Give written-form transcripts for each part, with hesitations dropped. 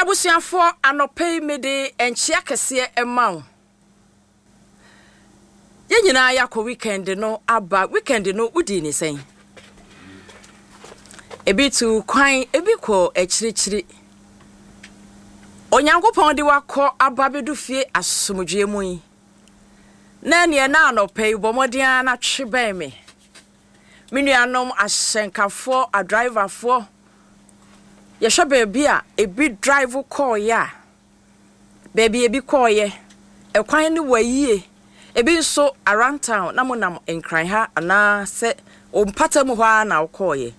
Abusuafoɔ, anɔpa yi mede nkyea kɛseɛ ma wo. Yɛn nyinaa yɛakɔ weekend no aba. Weekend no wodii ne sɛn? Ebi tu kwan, ebi kɔ akyirikyiri. Onyankopɔn de wakɔ aba bɛdu fie asomdwoeɛ mu yi. Na ɛneɛ na anɔpa yi bɔ mmɔden ara na twe bɛn me. Me nuanom ahyɛnkafoɔ, adriverfoɔ, yɛhwɛ baabi a ebi drive kɔɔeɛ a, baabi a ebi kɔɔeɛ, ɛkwan no wa yie. Ebi nso around town na monam Nkran ha anaa sɛ wo mpata mu hɔ ara na wokɔɔeɛ.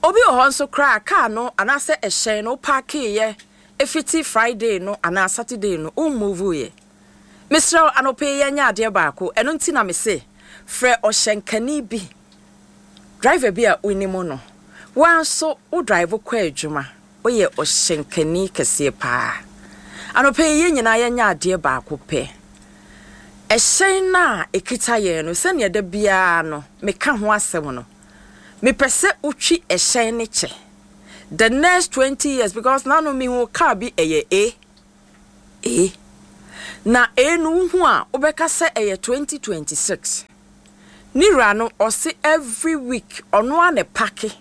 Obi wɔ hɔ nso koraa a kaa no anaasɛ ɛhyɛn no wopaakeeɛ fiti Friday no anaa Saturday no wommovuiɛ. Mesrɛ wo anɔpa yi yɛnyɛ adeɛ baako, ɛno nti na mese frɛ ɔhyɛnkani bi, driver bi a wonim no. Wo ara nso wo drive kɔ adwuma, woyɛ ɔhyɛnkani kɛseɛ paa. Anɔpa yi yɛn nyinaa yɛnyɛ adeɛ baako pɛ. Ɛhyɛn no a ɛkita yɛn no, sɛdeɛ da biara no meka ho asɛm no, mepɛ sɛ wotwi ɛhyɛn no kyɛ the next 20 years because nano mehu car bi ɛyɛ A. E. Na E no wohu a wobɛka sɛ ɛyɛ 2026. Ne wura no ɔse every week ɔno ara na ɛpake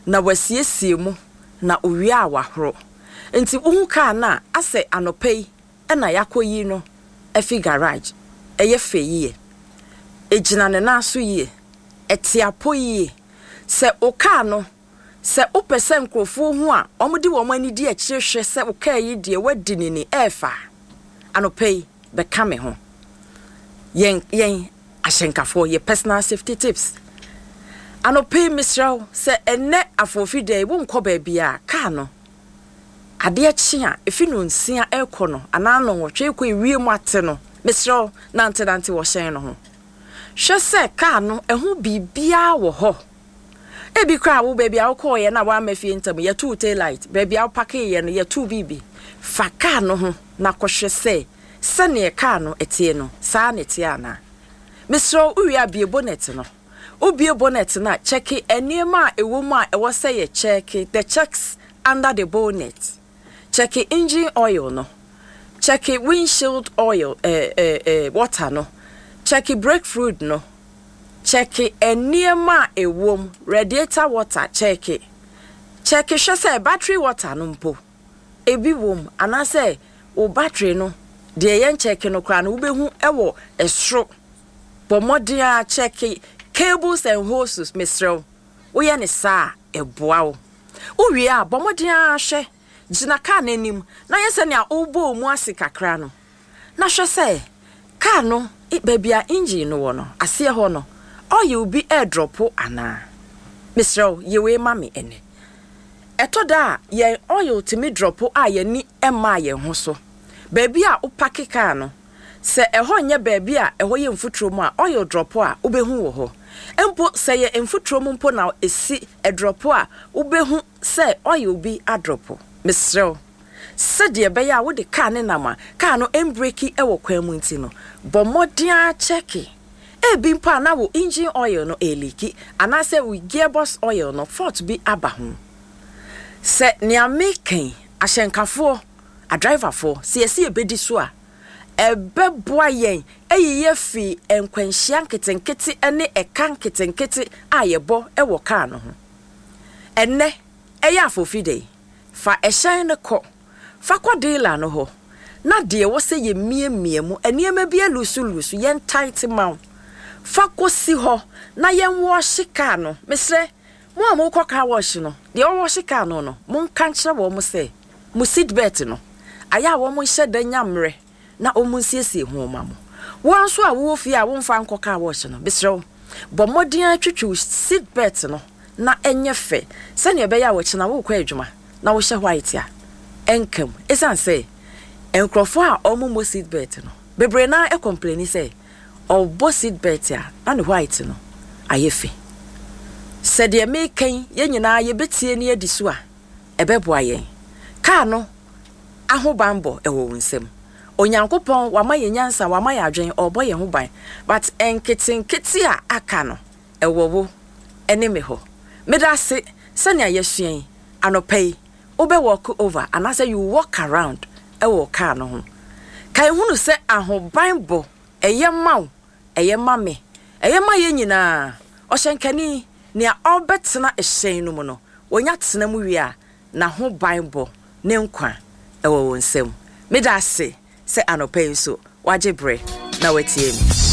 na wasiesie mu na owie a wahoro. Nti wohu car no a asɛ anɔpa yi na yɛakɔyi no afi garage. Ɛyɛ fɛ yie. Ɛgyina ne nan so yie. Ɛte apɔ yie. Sɛ wo car no Sɛ wopɛ sɛ nkurɔfoɔ hu a, wɔde wɔn ani di akyire hwɛ sɛ wo kaa yi deɛ woadi no ni, ɛɛfa a, anɔpa yi, bɛka me ho. Yɛn, yɛn ahyɛnkafoɔ, yɛ personal safety tips. Anɔpa yi, mesrɛ wo, sɛ ɛnnɛ afoofi da yi, wonkɔ baabiara a, kaa no, adeɛ kye a, ɛfi nnɔnsia rekɔ no, anaa nnɔnwɔtwe rekɔ ewiem ate no, mesrɛ wo, nantenante wɔ hyɛn no ho. Hwɛ sɛ kaa no, ɛho biribiara wɔ hɔ. Ebi koraa wo baabi a wokɔeɛ na woamma fie ntɛm, yɛtoo tail light, baabi a wopakeeɛ no yɛtoo biribi. Fa kaa no ho na kɔhwɛ sɛ sɛdeɛ kaa no teɛ no, saa na ɛteɛ anaa. Mesrɛ wo, wowie a bue bonnet no. Wobue bonnet no a, kyɛke nneɛma a ɛwɔ mu a ɛwɔ sɛ yɛkyɛke, the checks under the bonnet. Kyɛke engine oil no, kyɛke windshield oil, eh, eh, eh, water no, kyɛke brake fluid no, Kyɛke nneɛma a ɛwom, radiator water, kyɛke. Kyɛke hwɛ sɛ battery water no mpo, ebi wom anaasɛ wo battery no, deɛ yɛnkyɛke no koraa no, wobɛhu wɔ soro. Bɔ mmɔden ara kyɛke cables and hoses, mesrɛ wo. Woyɛ no saa a, ɛboa wo. Wowie a, bɔ mmɔden ara hwɛ, gyina kaa no anim na yɛ sɛnea worebɔ wo mu ase kakra no. Na hwɛ sɛ kaa no baabi a engine no wɔ no, aseɛ hɔ no, oil bi redrɔpo anaa. Mesrɛ wo, yɛ wei ma me ɛnnɛ. Ɛtɔ da a, yɛn oil tumi drɔpo a yɛn ani mmaa yɛn ho so. Baabi a wopake kaa no, sɛ ɛhɔ nyɛ baabi a ɛhɔ yɛ mfuturo mu a, oil drɔpo a, wobɛhu wɔ hɔ. Mpo sɛ ɛyɛ mfuturo mu mpo na ɛsi drɔpo a, wobɛhu sɛ oil bi adrɔpo. Mesrɛ wo. Sɛdeɛ ɛbɛyɛ a wode kaa no nam a kaa no mbreki wɔ kwan mu nti no, bɔ mmɔden ara kyɛke. Ebi mpo a na wo engine oil no ɛreleaki anaasɛ wo gearbox oil no fault bi aba ho. Sɛ nea mereka yi, ahyɛnkafoɔ, adriverfoɔ, sɛ yɛse yɛbɛdi so a, ɛbɛboa yɛn ayi yɛn afiri nkwanhyia nketenkete ne ɛka nketenkete a yɛbɔ wɔ kaa no ho. Ɛnnɛ, ɛyɛ afofide yi. Fa ɛhyɛn no kɔ. Fa kɔ dealer no hɔ na deɛ ɛwɔ sɛ yɛmiamia mu, nneɛma bi alusu lusu, yɛn tight ma wo. Fa kɔsi hɔ na yɛn wɔɔhye car no. Mesrɛ, mo a mokɔ car wash no, deɛ ɔwɔɔhye car no no, monka nkyerɛ wɔn sɛ mo seat belt no, ayɛ a wɔn nhyɛ da nya mmerɛ na wɔnsiesie ho mma mo. Wo ara nso a wowɔ fie a womfa nkɔ car wash no, mesrɛ wo, bɔ mmɔden ara twitwi wo seat belt no na ɛnyɛ fɛ sɛnea ɛbɛyɛ a ɔkyena worekɔ adwuma na wohyɛ white a, ɛnka mu. Esiane sɛ nkurɔfoɔ a wɔmmɔ seat belt no, bebree no ara kɔmpleni sɛ ɔbɔ seat belt a na ne white no ayɛ fi. Sɛ deɛ mereka yi yɛn nyinaa yɛbɛtie na yɛadi so a, ɛbɛboa yɛn. Kaa no ahobanbɔ wɔ wo nsam. Onyankopɔn wama yɛn nyansa, wama yɛn adwene, ɔrebɔ yɛn ho ban. But nketenkete a aka no, ɛwɔ wo ne me hɔ. Meda ase sɛnea yɛasua yi anɔpa yi. Wobɛ walk over anaasɛ you walk around wɔ wo kaa no ho. Kae hunu sɛ ahobanbɔ ɛyɛ ma wo, ɛyɛ ma me, ɛyɛ ma yɛn nyinaa. Ɔhyɛnkani, nea ɔrebɛtena hyɛn no mu no, ɔnya tena mu wie a, n'ahobanbɔ, ne nkwa wɔ wo nsam. Meda ase sɛ anɔpa yi nso woagye berɛ na woatie me.